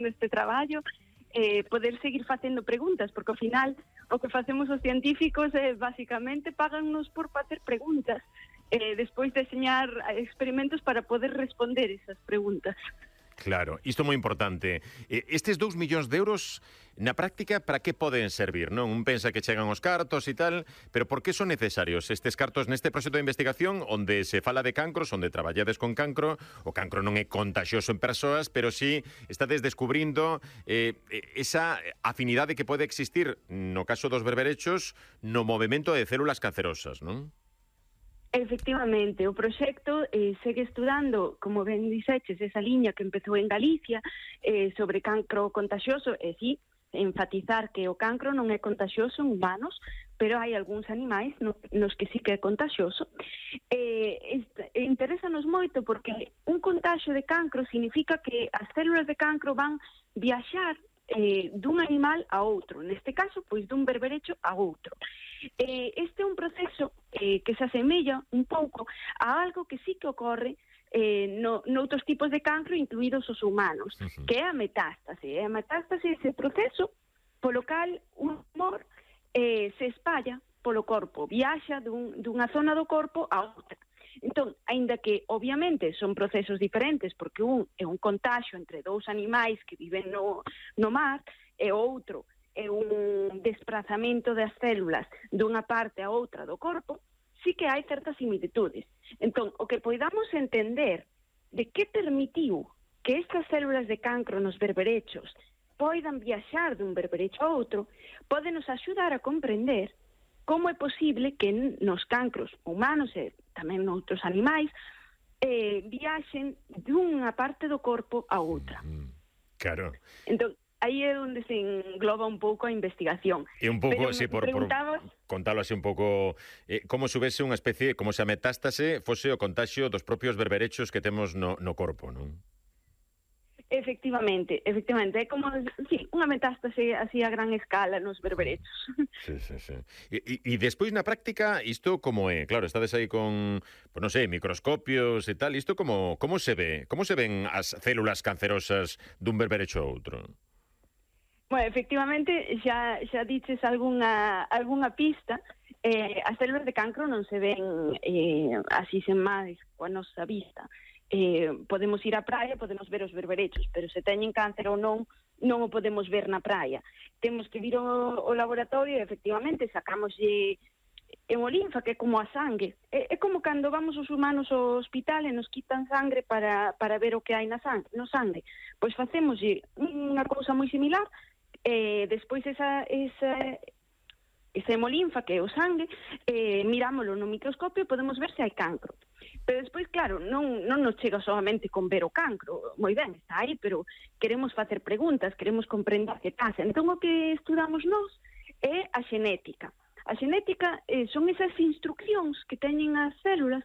neste traballo, poder seguir facendo preguntas, porque ao final o que facemos os científicos é basicamente pagannos por facer preguntas, despois deseñar experimentos para poder responder esas preguntas. Claro, isto é moi importante. Estes 2 millóns de euros, na práctica, para que poden servir, non? Un pensa que chegan os cartos e tal, pero por que son necesarios estes cartos neste proxecto de investigación onde se fala de cancros, onde traballades con cancro? O cancro non é contaxioso en persoas, pero sí estades descubrindo esa afinidade que pode existir, no caso dos berberechos, no movimento de células cancerosas, non? Efectivamente, o proxecto segue estudando, como ben dixeches, esa liña que empezou en Galicia sobre cancro contagioso, e sí, enfatizar que o cancro non é contagioso en humanos, pero hai algúns animais nos que sí que é contagioso. Interésanos moito porque un contagio de cancro significa que as células de cancro van viaxar dun animal a outro, neste caso, pois dun berberecho a outro. Este é un proceso que se asemella un pouco a algo que sí que ocorre noutros tipos de cancro, incluídos os humanos, que é a metástase. A metástase é ese proceso polo cal un tumor se espalla polo corpo, viaxa dunha zona do corpo a outra. Entón, aínda que, obviamente, son procesos diferentes, porque un é un contagio entre dous animais que viven no mar, e outro é un desplazamento das células dunha parte a outra do corpo, sí que hai certas similitudes. Entón, o que poidamos entender de que permitiu que estas células de cancro nos berberechos poidan viaxar dun berberecho a outro, pode nos axudar a comprender como é posible que nos cancros humanos e tamén noutros animais viaxen dunha parte do corpo a outra. Claro. Entón, aí é onde se engloba un pouco a investigación. E un pouco, sí, por contalo así un pouco, como se houvese unha especie, como se a metástase fose o contagio dos propios berberechos que temos no corpo, non? Efectivamente, é como, sí, unha metástase así a gran escala nos berberechos. Sí. E despois na práctica, isto como é? Claro, estades aí con, pues non sei, microscopios e tal, isto como se ve? Como se ven as células cancerosas dun berberecho a outro? Bueno, efectivamente, xa dices algunha pista. As células de cancro non se ven así sen máis coa nosa vista. Podemos ir á praia, podemos ver os berberechos, pero se teñen cáncer ou non o podemos ver na praia. Temos que vir ao laboratorio e, efectivamente, sacámoslle hemolinfa, que é como a sangue. É como cando vamos os humanos ao hospital e nos quitan sangre para ver o que hai no sangue. Pois facémoslle unha cousa moi similar, despois esa hemolinfa, que é o sangue, mirámoslo no microscopio e podemos ver se hai cancro. Pero despois, claro, non nos chega solamente con ver o cancro, moi ben, está aí, pero queremos facer preguntas, queremos comprender que pasa. Entón, o que estudamos nós é a xenética. A xenética son esas instruccións que teñen as células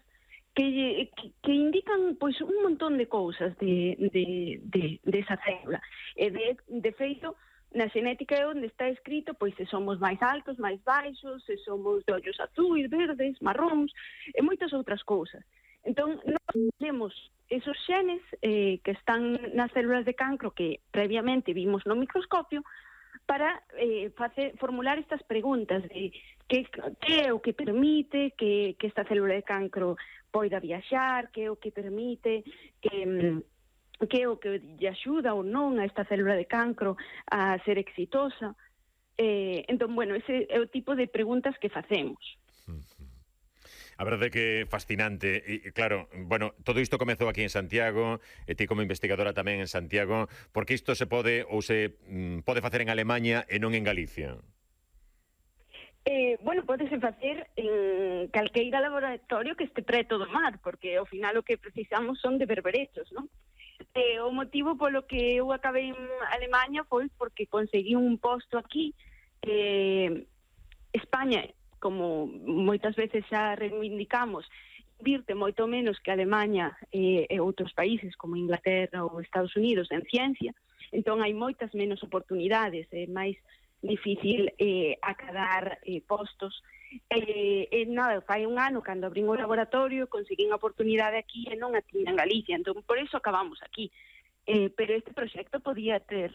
que indican, pois, un montón de cousas desa célula. E de feito, na xenética é onde está escrito, pois, se somos máis altos, máis baixos, se somos de ollos azuis, verdes, marróns, e moitas outras cousas. Entón, nós temos esos xenes que están nas células de cancro que previamente vimos no microscopio para formular estas preguntas de que é o que permite que esta célula de cancro poida viaxar, que é o que permite que é o que lle axuda ou non a esta célula de cancro a ser exitosa. Entón, bueno, ese é o tipo de preguntas que facemos. A verdade é que é fascinante. E, claro, bueno, todo isto comezou aquí en Santiago, e ti como investigadora tamén en Santiago, porque isto se pode facer en Alemanha e non en Galicia? Bueno, podese facer en calqueira laboratorio que este preto do mar, porque ao final o que precisamos son de berberechos, non? O motivo polo que eu acabei en Alemanha foi porque conseguí un posto aquí. España, como moitas veces xa reivindicamos, invirte moito menos que Alemanha e outros países como Inglaterra ou Estados Unidos en ciencia, entón hai moitas menos oportunidades, é máis difícil acadar postos. Nada, fai un ano, cando abrín o laboratorio, conseguín a oportunidade aquí e non a tiña en Galicia, entón por iso acabamos aquí. pero este proxecto podía ter